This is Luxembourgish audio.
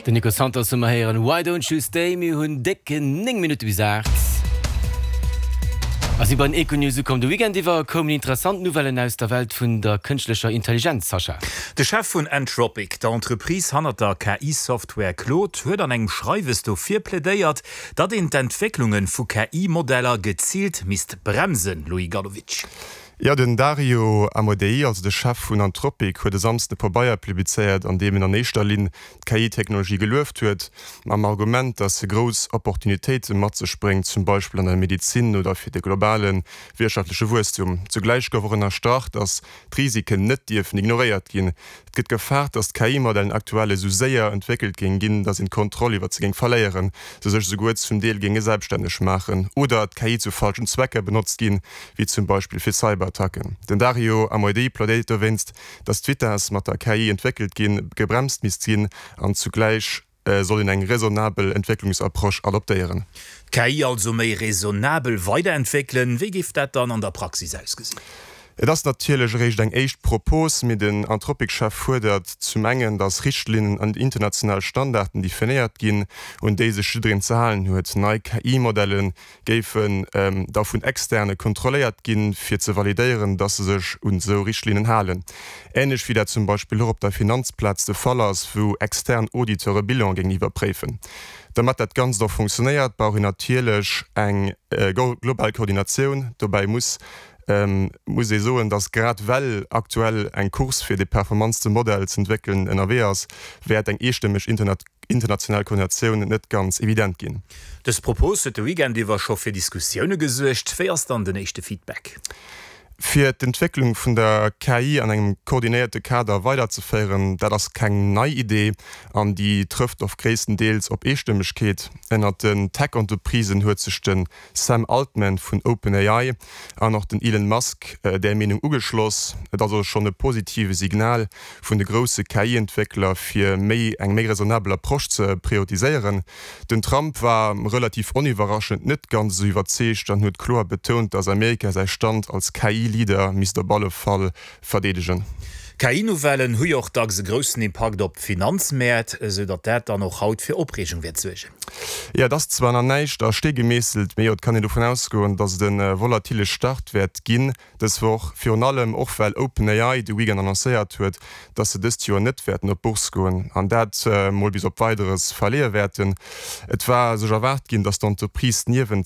Den Nico Santos hu mer héieren, Why don't you stay? Mir hunn déck 9 Minutte bis 8 a si bei den Econews ukomm. De Weekend iwwer koumen interessant Nouvellen aus der Welt vun der kënschtlecher Intelligenz, Sascha. De Chef vun Anthropic, der Entreprise hannert der KI-Software Claude, huet an engem Schreiwes dofir plädéiert, datt een d'Entwécklunge vu KI-Modeller geziilt misst bremsen, Loïc Gallowitsch. Jo, den Dario Amodei, also de Chef vun Anthropic, huet e Samsden e Pabeier publizéiert, an deem en an éischter Linn d'KI-Technologie gelueft huet, mam Argument, datt se grouss Opportunitéite mat sech bréngt, zum Beispill an der Medezin oder fir de globale wirtschaftleche Wuesstum. Zugläich gouf och ënnerstrach, datt d'Risiken net dierfen ignoréiert ginn. Et gëtt gefaart, datt d'KI-Modellen aktuell esou séier entwéckelt géing ginn, datt een d'Kontroll iwwer se géing verléieren, se sech esouguer zum Deel géinge selbststänneg maachen oder d'KI zu falschen Zwecker benotzt ginn, wéi zum Beispill fir Cyberattacken. Den Dario Amodei plädéiert dowéinst, datt d'Vitess, mat der KI entwéckelt ginn, gebremst misst ginn an zugläich soll een eng raisonnabel Entwécklungsapproche adoptéieren. D'KI also méi raisonnabel weiderentwéckelen, wéi géif dat dann an der Praxis ausgesinn? Et ass natierlech eréischt eng éischt Propos, mee den Anthropic-Chef fuerdert zum engen, datt Richtlinnen an international Standarden definéiert ginn, un déi sech jiddereen ze halen huet. Nei KI-Modelle géifen da vun Externe kontrolléiert ginn, fir ze validéieren, dass se sech un esou Richtlinnen halen. Änlech wéi dat zum Beispill och op der Finanzplaz de Fall ass, wou extern Auditeure Bilan géingen iwwerpréifen. Dermat dat Ganzt och funktionéiert, brauch een natierlech eng global Koordinatioun. Dobäi muss muss ee soen, dass grad well aktuell eng Course fir de performantste Modell z'entwéckelen ënnerwee ass, wäert eng eestëmmeg international Koordinatioun net ganz evident ginn. Dës Propos huet de Weekend iwwer scho fir Diskussioune gesuergt. Wéi ass dann den éischte Feedback? Fir d'Entwécklung vun der KI an engem koordinéierte Kader weiderzeféieren, dat ass keng nei Idee an déi trëfft och gréisstendeels op Eestëmmegkeet. Ënnert den Tech-Entreprisen huet sech de Sam Altman vun OpenAI an och den Elon Musk där Meenung ugeschloss. Et ass also schonn e positive Signal vun de grousse KI-Entwéckler, fir méi eng méi raisonnabel Approche ze prioritiséieren. Den Trump war relativ oniwwerraschend net ganz esou iwwerzeegt an huet kloer betount, datt Amerika säi Stand als KI-Leader misst op alle Fall verdeedegen. KI-Nouvellen hu jo och dacks e groussen Impakt op d'Finanzmäert, esou datt dat dann och haut fir Opreegung wäert suergen. Jo, et ass zwar nach näischt a Stee gemeesselt, mee jo, et kann een dovun ausgoen, datt et e volatile Start wäert ginn dës Woch. Virun allem och well OpenAI de Weekend annoncéiert huet, datt se dëst Joer net wäerten op d'Bourse goen an dat mol bis op Weideres verleeë wäerten. Et war sech erwaart ginn, datt d'Entreprise niewent.